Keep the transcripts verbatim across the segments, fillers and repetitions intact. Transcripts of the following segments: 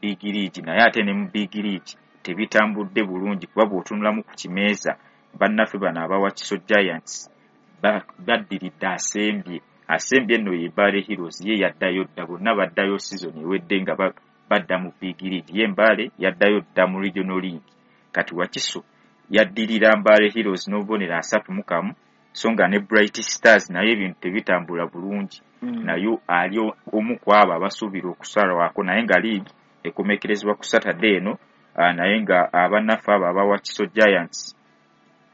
Big League, naye ate ne mu Big League tebitambudde bulungi, kuba bw'otunulamu ku kimeeza bannaffe bano aba Wakiso Giants baddiridde asembye asembye nno ye Mbale Heroes, ye yaddayo dda, bonna baddayo season ewedde nga badda mu Big League, ye Mbale yaddayo dda mu Regional League. Kati Wakiso yaddirira Mbale Heroes n'obubonero asatu mu kamu, so nga ne Bright Stars naye ebintu tebitambula bulungi, mm. nayo ali omu ku abo abasuubira okusalwako, naye nga league ekomekerezebwa ku Saturday eno, naye nga abannaffe abo aba Wakiso Giants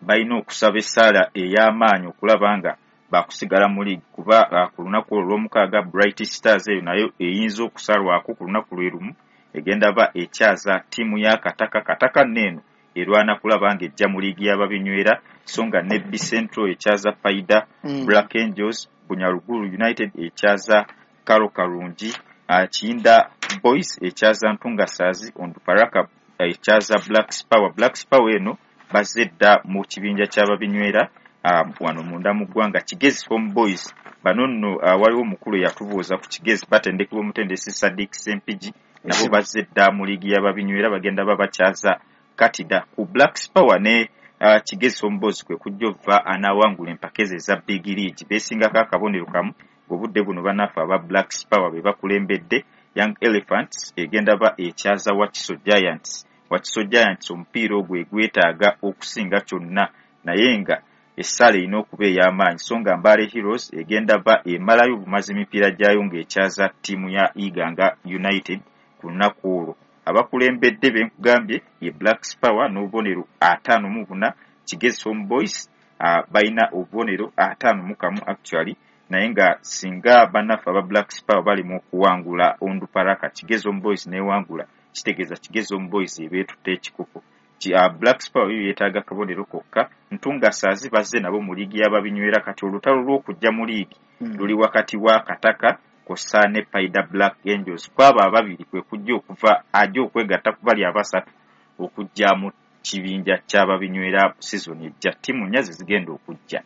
balina okusaba essaala ey'amaanyi okulaba nga bakusigala mu league, kuba ku lunaku olwo olw'omukaaga Bright Stars eyo nayo eyinza okusalwako ku lunaku lwe lumu, egenda ba ekyaza ttiimu ya Kataka. Kataka nno eno erwana kulaba ng'ejja mu liigi y'ababinywera, so nga ne B Central ekyaza Paida, mm. Black Angels, Bunyaruguru United ekyaza Karo Karungi, uh, Kiyinda Boys ekyaza Ntungasazi, Onduparaka ekyaza Black Power. Black Power eno bazze dda mu kibinja ky'ababinywera uh, wano munda mu ggwanga. Kigezi Home Boys bano nno uh, waliwo omukulu eyatubuuza ku Kigezi, batendekebwa omutendesi Sadik Sempigi, nabo bazze dda mu liigi y'ababinywera, bagenda babakyaza Katida. Ku Black Power ne uh, Kigezi Home Boys kwe kujja ova anaawangula empaka ezo eza Big League, beesingako akabonero kamu ng'obudde buno bannaffe aba Black Power be bakulembedde. Young Elephants egenda ba ekyaza Wakiso Giants. Wakiso Giants omupiira ogwo egwetaaga okusinga kyonna, naye nga essaala erina okuba ey'amaanyi, so nga Mbale Heroes egenda ba emalayo obumazi emipiira gyayo ng'ekyaza ttiimu ya Iganga United ku lunaku olwo. Abakulembedde be nkugambye ye Black Power n'obubonero ataano mu buna, Kigezi Home Boys uh, balina obubonero ataano mu kamu actually, naye nga singa bannaffe aba Black Power bali mu okuwangula Onduparaka, Kigezi Home Boys n'ewangula, kitegeeza Kigezi Home Boys ebeetutte ekikopo. Uh, Black Power yo yeetaaga kabonero kokka. Ntungasaazi bazze nabo mu liigi y'ababinywera. Kati olutalo lw'okujja mu liigi mm. luli wakati wa Kataka kw'ossa ne Paida Black Angels. Kwabo ababiri kwe kujja okuva ajja okwegatta ku bali abasatu okujja mu kibinja ky'ababinywera season ejja. Ttiimu nnya ze zigenda okujja.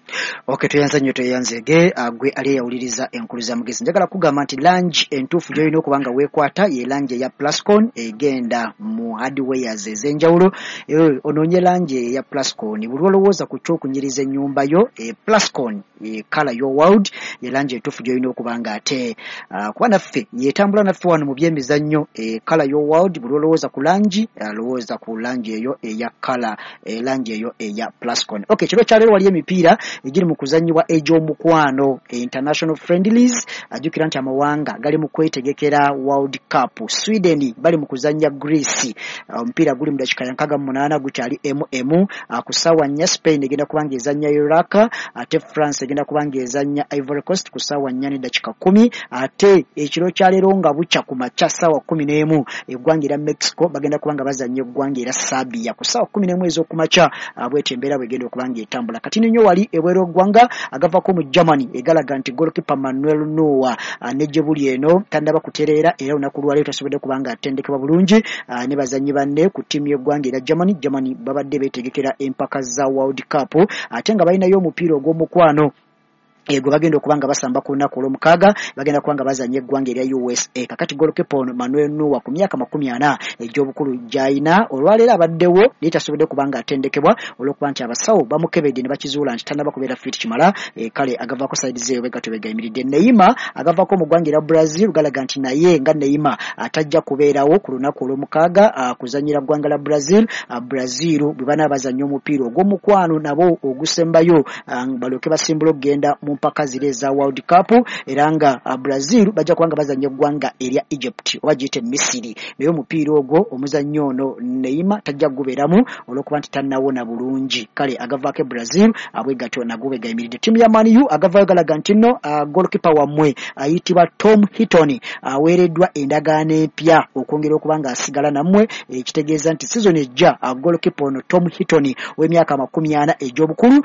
Okay, tweyanza nnyo, tweyanzeege gwe ali eyawuliriza enkulu za mugezi. Njagala kugamba nti langi entuufu gy'olina okuba nga weekwata ye langi eya Plascon, egenda mu hardwares ez'enjawulo. Onoonye langi eya Plascon buli olowooza ku ky'okunyiriza ennyumba yo. E Plascon e color your world ye langi entuufu gy'olina okuba nga ate uh, kuba naffe yetambula naffe wano mu byemizannyo. E color your world, buli olowooza ku langi, lowooza ku langi eyo eya color, langi eyo eya Plascon. Okay, kiro kyaleero wali emipiira egiri mu kuzannyibwa egy'omukwano, international friendlies. Ajjukira nti amawanga gali mu kwetegekera World Cup. Sweden bali mu kuzannya Greece, omupiira guli mu dakiika ya nkaaga mu munaana, gukyali emu emu. Ku ssaawa nnya Spain egenda kuba ng'ezannya Iraq, ate France egenda kuba ng'ezannya Ivory Coast ku ssaawa nnya n'eddakiika kkumi. Ate ekiro kyaleero nga bukya ku makya ssaawa kkumi n'emu, eggwanga erya Mexico bagenda kuba nga bazannya eggwanga erya Serbia ku ssaawa kkumi n'emu ez'okumakya. Bwetyo embeera bwegenda okuba ng'etambula. Kati nnyo wali ebweru eggwanga agavako mu Germany egalaga nti goalkeeper Manuel Neuer ne gye buli eno tannaba kutereera, era olunaku lwaleero tasobodde kuba nga atendekebwa bulungi ne bazannyi banne ku ttiimu y'eggwanga erya Germany. Germany babadde beetegekera empaka za World Cup, ate nga balinayo omupiira ogw'omukwano ego bagenda okuba nga basamba ku lunaku olw'omukaaga, bagenda kuba nga bazannya eggwanga erya U S A. Kakati goalkeeper ono Manuel Neuer ku myaka makumi ana egy'obukulu gy'alina olwaleero abaddewo, naye tasobodde kuba nga atendekebwa olw'okuba nti abasawo bamukebedde ne bakizuula nti tannaba kubeera fit kimala. E, kale agavaako side ze bwe gatyo begayimiridde. Neymar agavaako mu ggwanga erya Brazil galaga nti naye nga Neymar atajja kubeerawo ku lunaku olw'omukaaga kuzannyira ggwanga la Brazil. Brazil bwe banaaba bazannya omupiira ogw'omukwano nabo ogusembayo, balyoke basimbula okugenda mu mpaka ziri eza World Cup, era nga Brazil bajja kubanga bazannya eggwanga erya Egypt oba giyite Misiri. Naye omupiira ogwo omuzannyo ono Neymar tajja kugubeeramu olw'okuba nti tannawona bulungi. Kale agavaako e Brazil abwe gatyo nagwo bwe gayimiridde. Ttiimu ya Man U agavaayo galaga nti nno goalkeeper wammwe ayitibwa Tom Heaton aweereddwa endagaano empya okwongera okuba nga asigala nammwe, ekitegeeza nti season ejja goalkeeper ono Tom Heaton w'emyaka amakumi ana egy'obukulu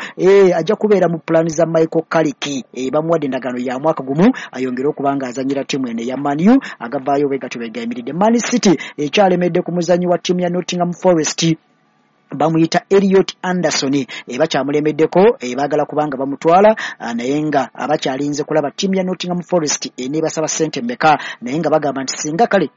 ajja kubeera mu pulaani za Michael Carrick. E, bamuwadde endagaano ya mwaka gumu ayongere okuba nga azannyira ttiimu eno eya Man U. Agavaayo bwe gatyo bwe gayimiridde. Man City ekyalemedde ku muzannyi wa ttiimu ya Nottingham Forest Bamuyita Elliot Anderson, e bakyamulemeddeko, e baagala kubanga bamutwala, naye nga abakyalinze kulaba ttiimu ya Nottingham Forest eneebasaba ssente mmeka, naye nga bagamba nti singa kale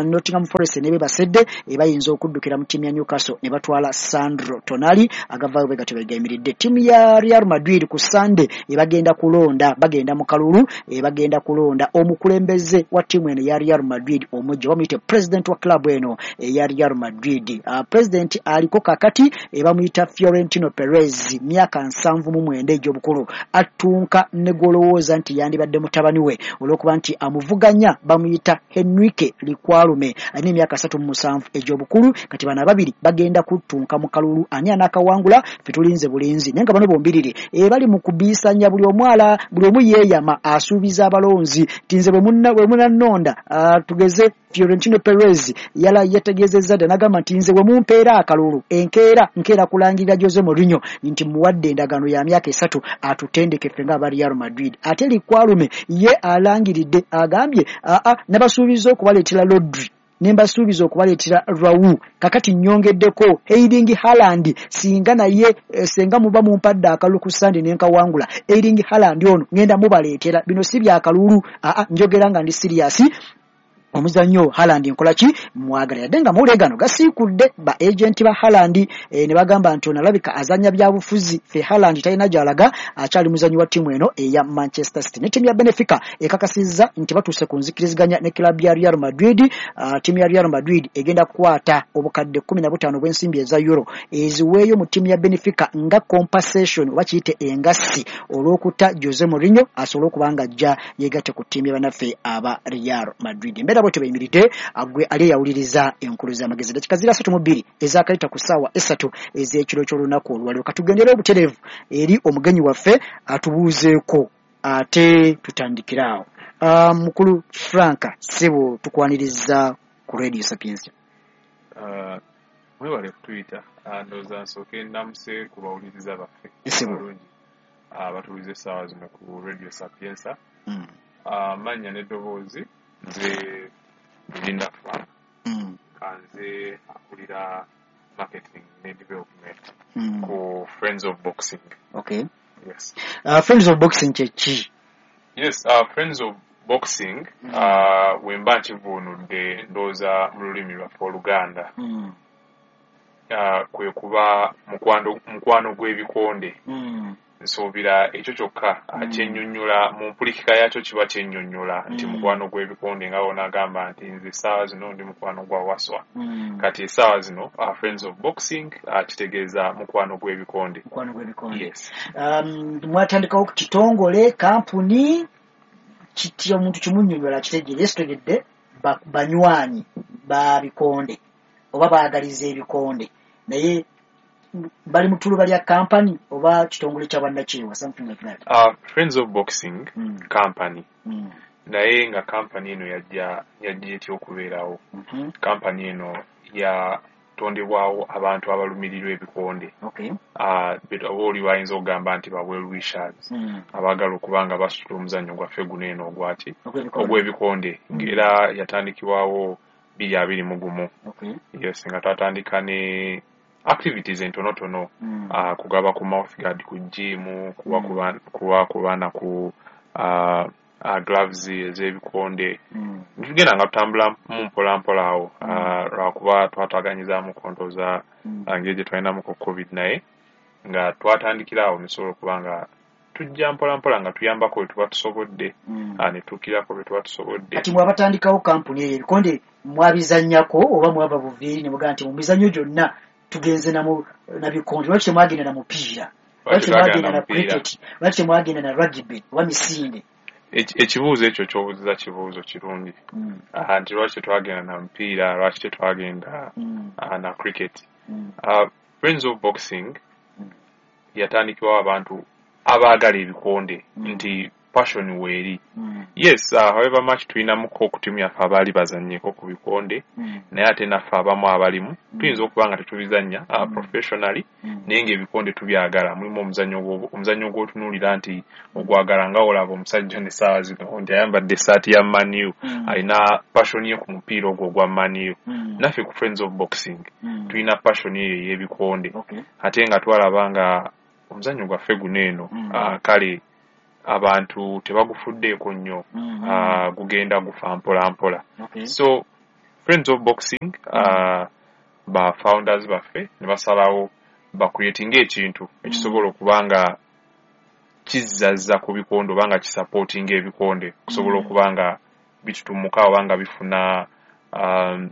Nottingham Forest eneebebasedde, bayinza okuddukira mu ttiimu ya Newcastle ne batwala Sandro Tonali. Agavaayo bwe gatyo begayimiridde. Ttiimu ya Real Madrid ku Sunday ebagenda kulonda, bagenda mu kalulu, bagenda kulonda omukulembeze wa ttiimu eno ya Real Madrid omujja, bamuyite president wa club eno eya Real Madrid. President aliko kakati ebamuyita Fiorentino Perez, myaka nsanvu mu mwenda egy'obukulu, attunka ne gw'olowooza nti yandibadde mutabani we olw'okuba nti amuvuganya bamuyita Henrique Likwalume, alina emyaka asatu mu musanvu egy'obukulu. Kati bano ababiri bagenda kuttunka mu kalulu, ani anaakawangula ffe tulinze bulinzi, naye nga bano bombiriri bali mu kubiisanya, buli omu ala buli omu yeeyama asuubiza abalonzi nti nze bwe munannonda. Tugeze Fiorentino Perez yala yategeezezza dda n'agamba nti nze bwe mumpeera akalulu enkeera nkeera kulangirira Jose Mourinho nti muwadde endagaano ya myaka esatu atutendeke ffe ng'aba Real Madrid. Ate Likwalume ye alangiridde agambye aa nabasuubiza okubaleetera Rodri, ne mbasuubiza okubaleetera Raul, kakati nnyongeddeko Erling Haaland, singa naye senga muba mumpadde akalulu ku Sunday ne nkawangula, Erling Haaland ono ngenda mubaleetera. Bino si byakalulu, aa njogera nga ndi serious. Omuzannyo Haaland nkola ki mwagala, yadde nga mawulire gano gasiikudde ba agenti ba Haaland e, ne bagamba nti ono alabika azannya byabufuzi, ffe Haaland talina gy'alaga, akyali muzannyi wa ttiimu eno eya Manchester City. Ne ttiimu ya Benfica ekakasizza nti batuuse ku nzikiriziganya ne club ya Real Madrid. Ttiimu ya Real Madrid egenda kukwata obukadde kkumi na butaano obw'ensimbi eza euro eziweeyo mu ttiimu ya Benfica nga compensation oba kiyite engassi olw'okutta Jose Mourinho asobole okuba nga ajja yeegatte ku ttiimu ya bannaffe aba Real Madrid. Embeera bwetyo beyimiridde. Gwe ali eyawuliriza enkulu z'amagezi, dakika ziri asatu mu bbiri ezakayita ku ssaawa essatu ez'ekiro ky'olunaku olwaleero. Katugendere obutereevu eri omugenyi waffe atubuuzeeko ate tutandikire awo. Mukulu Frank, ssebo, tukwaniriza ku Radio Sapientia. Mwebale kutuyita. Ndowooza nsooke ndamuse ku bawuliriza baffe abalungi abatuwuliza essaawa zino ku Radio Sapientia. Amannya n'eddoboozi, nze Linda Frank, kanze akulira marketing ne development ku Friends of Boxing. Okay. Yes. Uh, Friends of Boxing kye ki? Yes, uh, Friends of Boxing, uh, wemba nkivuunudde ndowooza mu lulimi lwaffe Oluganda, Mm. uh, kwe kuba mukwano mukwano gw'ebikonde. Mm. Nsuubira ekyo kyokka Mm. kyennyonnyola mu mpulikika yakyo, kiba kyennyonnyola nti Mm. mukwano gw'ebikonde, nga wonaagamba nti nze essaawa zino ndi mukwano gwa Waswa. Mm. Kati essaawa zino uh, Friends of Boxing uh, kitegeeza mukwano gw'ebikonde. Mukwano gw'ebikonde. Yes. Um, mwatandikawo ku kitongole, kampuni kiti omuntu kimunnyonnyola kitegeere sitegedde banywanyi ba bikonde oba baagaliza ebikonde, naye bali mu ttuluba lya kampani oba kitongole kya bannakyewa, something like that? Uh, Friends of Boxing Mm. company, Mm. naye nga kampani eno yajja yajja etya okubeerawo? Mhm. Kampani eno yatondebwawo abantu abalumirirwa ebikonde, Okay. uh, oba oli bayinza okugamba nti ba well wishers Mm. abaagala okuba nga basitula omuzannyo gwaffe guno eno ogwaki Ogw'ebikonde. ogw'ebikonde, ng'era yatandikibwawo bbiri abiri mu gumu. Okay. Yes, nga twatandika ne activities entonotono, Mm. uh, kugaba ku mouthguard ku gym, kuwa Mm. ku ba- kuwa ku baana ku uh, uh, gloves ez'ebikonde. Mm. Tugenda nga tutambula mu mpola mpola awo, uh, lwakuba twataganyizaamu ndowooza Mm. engeri gye twalinamuko COVID, naye nga twatandikira awo netusobola okuba nga tujja mpola mpola nga tuyambako we tuba tusobodde, Mm. uh, ne tuukirako bwe tuba tusobodde. Kati mwe abatandikawo kampuni eyo, ebikonde mwabizannyako oba mwava buviiri ne mugamba nti mu mizannyo gyonna tugenze na mu- na bikonde? Lwaki temwagenda na mupiira? Lwaki temwagenda na mupiira? cricket? Lwaki temwagenda na rugby oba misinde? Eki- ekibuuzo ekyo ky'obuuziza kibuuzo kirungi. Mm. Ah, nti lwaki tetwagenda na mupiira, lwaki tetwagenda Mm. ah, na cricket? Mm. Uh, Friends of Boxing Mm. yatandikibwawo abantu abaagala ebikonde, Mm. nti passion weeri. Mm. Yes, uh, however much tulinamuko ku ttiimu yaffe abaali bazannyeko ku bikonde, Mm. naye ate naffe abamu abalimu Mm. tuyinza okuba nga tetubizannya uh, Mm. professionally, Mm. naye ng'ebikonde tubyagala. Mulimu omuzannyo ogwo- omuzannyo gw'otunuulira nti ogwagala, nga olaba omusajja n'essaawa zino nti ayambadde essaati ya Man U, Mm. alina passion ye ku mupiira ogwo ogwa Man U. Mm. Naffe ku Friends of Boxing Mm. tulina passion eyo ey'ebikonde, Okay. ate nga twalaba nga omuzannyo gwaffe guno eno, Mm. uh, kale abantu tebagufuddeeko nnyo, Mm. uh, gugenda gufa mpola mpola. Okay. So Friends of Boxing, uh, ba founders baffe ne basalawo bacreatinga ekintu ekisobola okuba nga kizzazza ku bikonde oba nga kisupportinga ebikonde okusobola Mm. okuba nga bitutumuka oba nga bifuna um,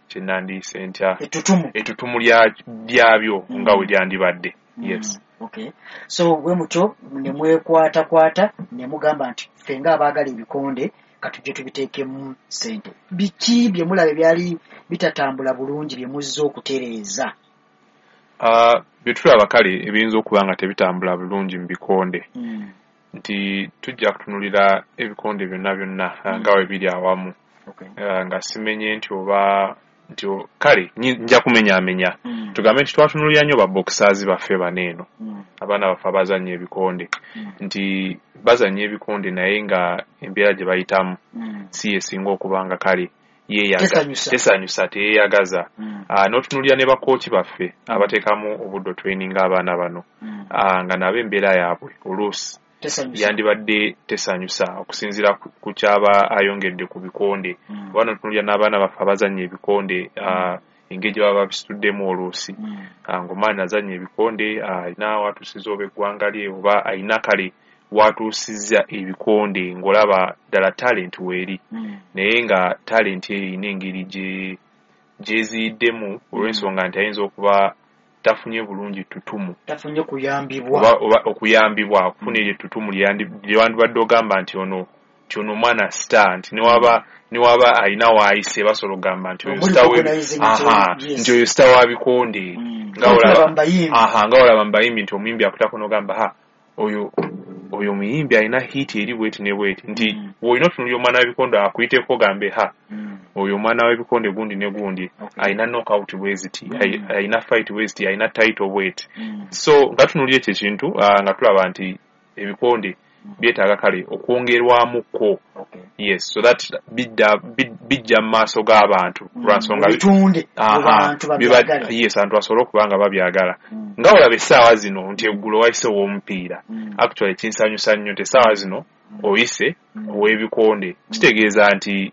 kyenandiise ntya, Ettutumu. ettutumu lya- lyabyo Mm. nga we lyandibadde. Mm. Yes. Okay. So bwe mutyo ne mwekwatakwata ne mugamba nti ffe ng'abaagala ebikonde katujje tubiteekemu ssente. Biki bye mulaba ebyali bitatambula bulungi bye muzze okutereeza? Uh, bye tulaba kale ebiyinza okuba nga tebitambula bulungi mu bikonde, Mm. nti tujja kutunulira ebikonde byonna byonna uh, nga we biri awamu, Okay. uh, nga simenye nti oba nti o- kale nyi- nja kumenyaamenya, Mm. tugambe nti twatunulira nnyo ba boxers baffe bano eno, Mm. abaana baffe abazannya ebikonde, Mm. nti bazannya ebikonde naye nga embeera gye bayitamu Mm. si yesinga okuba nga kale yeeyaga- Tesanyusa. tesanyusa, teyeeyagaza. Mm. Uh, n'otunuulira ne bakooki baffe abateekamu obudde otraininga abaana bano, Mm. uh, nga nabo embeera yaabwe oluusi Tesanyusa. yandibadde tesanyusa okusinziira ku- ku kyaba ayongedde ku bikonde. Mm. Oba n'otunuulira n'abaana baffe abazannya ebikonde, uh, engeri gye baba babisituddemu oluusi, Mm. uh, ng'omwana azannya ebikonde alina uh, watuusiza oba eggwanga lye oba alina kale watuusizza ebikonde ng'olaba ddala talent weeri, Mm. naye nga talent eyo erina engeri gye gyeziyiddemu olw'ensonga nti ayinza okuba tafunye bulungi ttutumu, Tafunye kuyambibwa. oba, oba okuyambibwa okufuna eryo ettutumu lyeyandi- lyewandibadde ogamba nti ono nti ono omwana star, nti newaba newaba alina waayise basobola okugamba nti oyo Omuli star we- recognizing nti aha, yes. nti oyo star wa bikonde. Mm. Nga olaba- Tulaba mu bayimbi. aha, nga olaba mu bayimbi nti omuyimbi akutako n'ogamba ha, oyo oyo omuyimbi alina hit eri bweti ne bweti, nti Mm. bw'olina otunuulira omwana w'ebikonde akuyiteko ogambe ha, Mm. oyo omwana w'ebikonde gundi ne gundi Okay. alina knockout bweziti, Mm. ayi- alina fight bweziti, alina title bweti. Mm. So nga tunuulira ekyo ekintu, ah, nga tulaba nti ebikonde byetaaga kale okwongerwamukko. Okay. Yes, so that bidda bi- bijja mu maaso g'abantu Mm. lwansonga Bitunde mu Aha, bantu biba- babyagale. yes, abantu basobole okuba nga babyagala. Mm. Nga olaba essaawa zino nti eggulo wayise ow'omupiira, Mm. actually kinsanyusa nnyo nti essaawa zino oyise Mm. ow'ebikonde, kitegeeza nti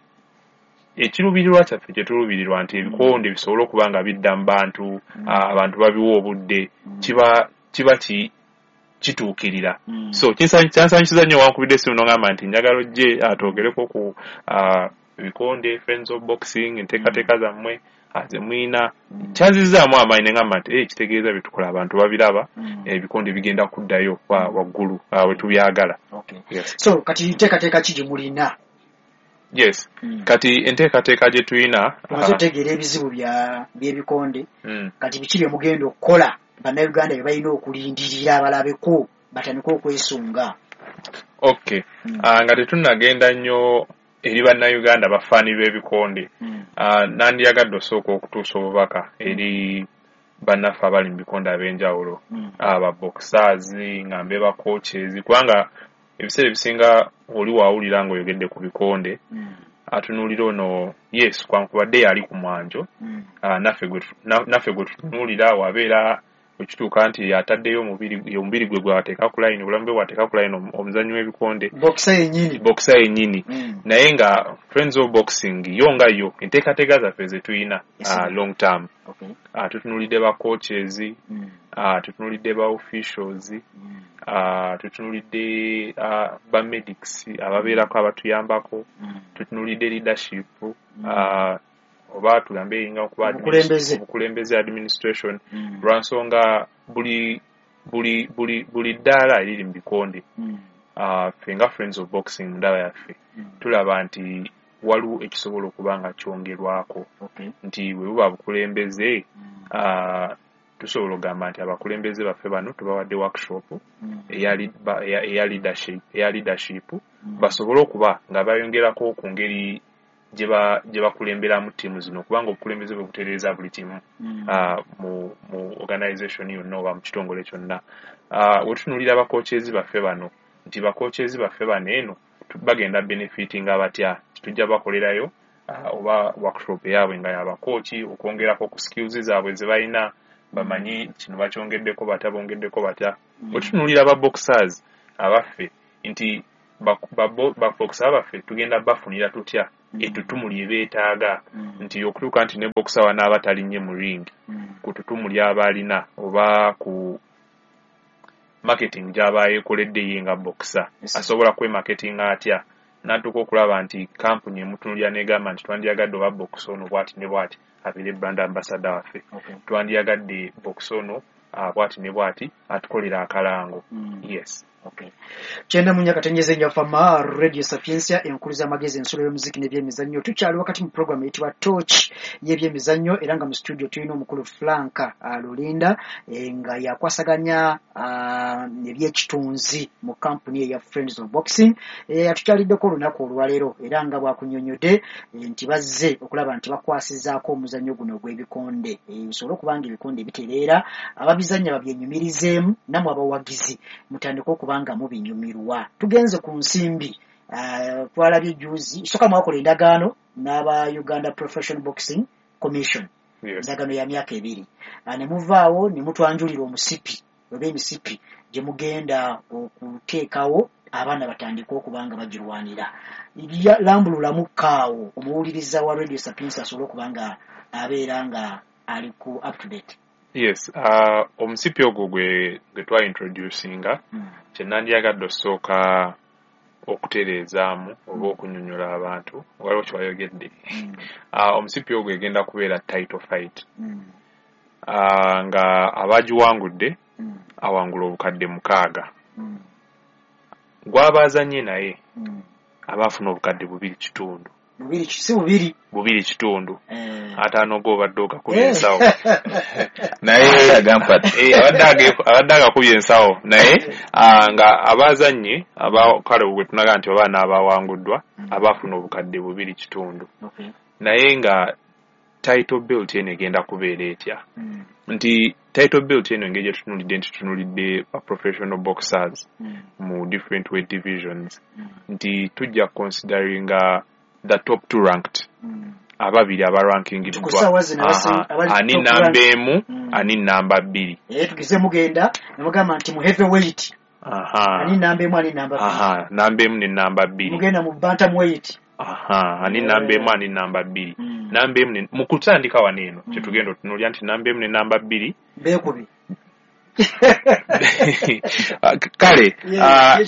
ekiruubirirwa kyaffe kye tuluubirirwa nti ebikonde bisobole okuba nga bidda mu bantu, Mm. ah, abantu babiwa obudde, kiba kiba ki kituukirira. Mm. So kinsanyu- kyansanyusiza nnyo wankubidde essimu n'ongamba nti njagala ojje ah, twogereko ku ah, ebikonde, Friends of Boxing, enteekateeka zammwe ah, ze muyina. Mm. Kyanzizaamu amaanyi ne ngamba nti eh, kitegeeza bye tukola abantu babiraba, Mm. ebikonde bigenda kuddayo wa- waggulu ah, we tubyagala. Okay. Yes. So kati nteekateeka ki gye mulina? Yes. Mm. Kati enteekateeka gye tulina, Tumaze ah, otegeera ebizibu bya by'ebikonde, mm, kati biki bye mugenda okukola bannayuganda bye balina okulindirira balabeko batandike okwesunga? Okay. Mm. Ah, nga tetunnagenda nnyo eri bannayuganda bafaani b'ebikonde, Mm. ah, nandiyagadde osooka okutuusa obubaka eri bannaffe abali mu bikonde ab'enjawulo, Mm. aba boxers, nga mbe ba coaches, kubanga ebiseera ebisinga oli waawulira ng'oyogedde ku bikonde Mm. atunuulira ono, yes, kwankubadde yali ku mwanjo, Mm. ah, naffe gwe tu- na- naffe gwe tutunuulira wabeera wekituuka nti ataddeyo omubiri omubiri gwe gwateeka ku line, obulamu bwe bwateeka ku line omuzannyi w'ebikonde, Boxer yennyini. Boxer yennyini. Mm. Naye nga Friends of Boxing yo nga yo enteekateeka zaffe ze tulina, Yes, uh, long term, Okay. uh, tutunuulidde ba coaches, Mm. uh, tutunuulidde ba officials, Mm. uh, tutunuulidde uh, ba medics ababeerako abatuyambako, Mm. tutunuulidde leadership, uh, oba tugambe eyinga okuba Obukulembeze. obukulembeze, administration, Mm. lwansonga buli buli buli buli ddaala eriri mu bikonde, Mm. uh, ffe nga Friends of Boxing mu ndaba yaffe Mm. tulaba nti waliwo ekisobola okuba nga kyongerwako, Okay. nti bwe buba bukulembeze, Mm. uh, Tusobola okugamba nti abakulembeze baffe bano tubawadde workshop eya leadership, eya leadership basobole okuba nga bayongerako ku ngeri gye bakulemberamu ttiimu zino, kubanga obukulembeze bwe butereeza buli kimu mu organization yonna oba mu kitongole kyonna. We tutunuulira abakookezi baffe bano nti bakookezi baffe bano eno bagenda benefitinga batya, tujja bakolerayo oba workshop yaabwe nga y'abakooki okwongerako ku skills zaabwe ze balina, bamanyi kino bakyongeddeko batya, bongeddeko batya. Bwe tutunuulira aba boxers abaffe nti baboxer abaffe tugenda bafunira tutya ettutumu lye beetaaga, nti okutuuka nti ne boxer wanaaba talinnye mu ring ku ttutumu ly'aba alina oba ku marketing gy'aba yeekoledde ye nga boxer, asobola kwemarketinga atya n'atuuka okulaba nti kampuni emutunuulira n'egamba nti twandyagadde oba boxer ono bw'ati ne bw'ati abeere brand ambassador waffe, twandyagadde boxer ono bw'ati ne bw'ati atukolera akalango. Yes. Okay. Kyenda mu nnya katenyeze nnyo Fama Radio Sapientia, enkulu z'amagezi, ensulo y'omuziki n'ebyemizannyo. Tukyali wakati mu program eyitibwa Torch y'ebyemizannyo, era nga mu studio tulina omukulu Frank Lulinda e, nga yakwasaganya ebyekitunzi mu kampuni eya Friends of Boxing. E, atukyaliddeko olunaku olwaleero era nga bwakunnyonnyodde e, nti bazze okulaba nti bakwasizaako omuzannyo guno ogw'ebikonde, bisobole okuba nga ebikonde bitereera, ababizannya babyenyumirizeemu, nammwe abawagizi mutandike okuba nga mubinyumirwa. Tugenze ku nsimbi, uh, twalabye juzi soka mwakola endagaano n'aba Uganda Professional Boxing Commission, endagaano ya myaka ebiri, uh, ne muvaawo ne mutwanjulira omusipi oba emisipi gye mugenda okuteekawo abaana batandike okuba nga bagirwanira. Lambululamu kaawo omuwuliriza wa Radio Sapientia asobole okuba nga abeera nga ali ku up to date. Yes, uh, omusipi ogwo gwe gwe twa introducinga mm. kye nandyagadde osooka okutereezaamu oba okunyonyola abantu, waliwo kyewayogedde. mm. uh, omusipi ogwo egenda kubeera title fight, mm. uh, nga abagiwangudde mm. awangula obukadde mukaaga, mm. gw'abaazanye naye mm. abaafuna obukadde bubiri kitundu. Bubiri si bubiri bubiri kitundu eh. Ataano g'obadde ogakubye ensawo naye abadde agakubye ensawo naye nga abazannyi kale bwe tunaga nti oba n'abawanguddwa abaafuna obukadde bubiri kitundu, naye nga title belt eno egenda kubeera etya, nti title belt eno engeri gye tutunuulidde nti tutunuulidde ba professional boxers mu different weight divisions, nti tujja consideringa the top two ranked, mm. ababiri abarankingiddwa, ani namba emu mm. ani namba bbiri. Eh, tugize mugenda ne mugamba nti mu heavyweight, aha, ani namba emu ani namba bbiri, aha, namba emu ne namba bbiri. Mugenda mu bantamweight, aha, ani namba emu ani namba bbiri, mm. namba emu mu kutandika wano eno mm. kyetugenda otunuulira nti namba emu ne namba bbiri beekubi kale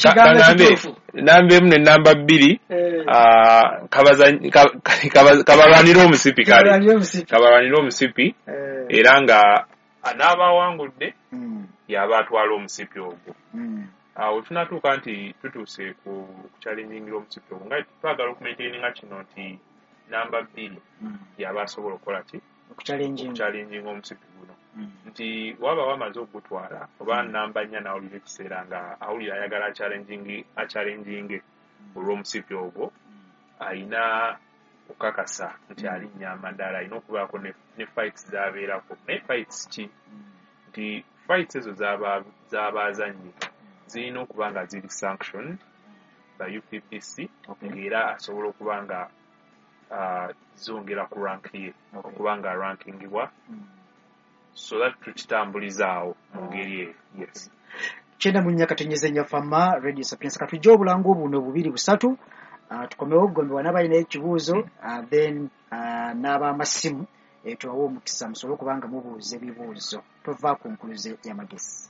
kagambe namba emu ne namba bbiri kabalwanira omusipi, kale kabalwanira omusipi, era nga n'abawangudde yaba atwala omusipi ogwo. Awo tunatuuka nti tutuuse ku kuchallengingira omusipi ogwo nga twagala okumaintaininga kino nti namba bbiri yaba asobola okukola ki, okuchallenginga omusipi guno, nti waba wamaze okugutwala oba namba nnya n'awulira ekiseera nga awulira ayagala achallenginge olw'omusipi ogwo, ayina okukakasa nti alinnya amadaala, alina okubaako ne fights z'abeerako. Naye fights ki? Nti fights ezo z'abaazannyi zirina okuba nga ziri sanctioned by U P B C, ng'era asobola okuba nga zongera ku rank ye, okuba nga rankingibwa, so that tukitambulizaawo mu ngeri eyo. Yes. Kyenda mu nnya katenyeze nnyo Fama Radio Sapientia. Katujje obulango buno bubiri busatu, uh, tukomewo gombe wanabalina ekibuuzo, uh, then uh, n'abamasimu eh, tubawe omukisa musobole okuba nga mubuuza ebibuuzo. Tova ku nkuluze y'amagezi.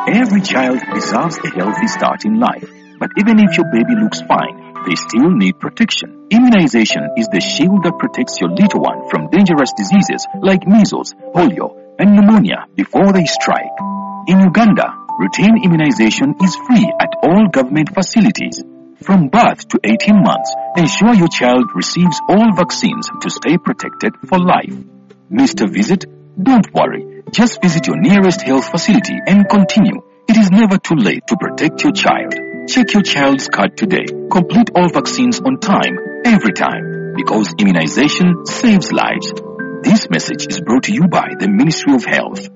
Every child deserves a healthy start in life. But even if your baby looks fine, they still need protection. Immunization is the shield that protects your little one from dangerous diseases like measles, polio, and pneumonia before they strike. In Uganda, Routine immunization is free at all government facilities. From birth to eighteen months, ensure your child receives all vaccines to stay protected for life. Missed a visit? Don't worry. Just visit your nearest health facility and continue. It is never too late to protect your child. Check your child's card today. Complete all vaccines on time, every time, because immunization saves lives. This message is brought to you by the Ministry of Health.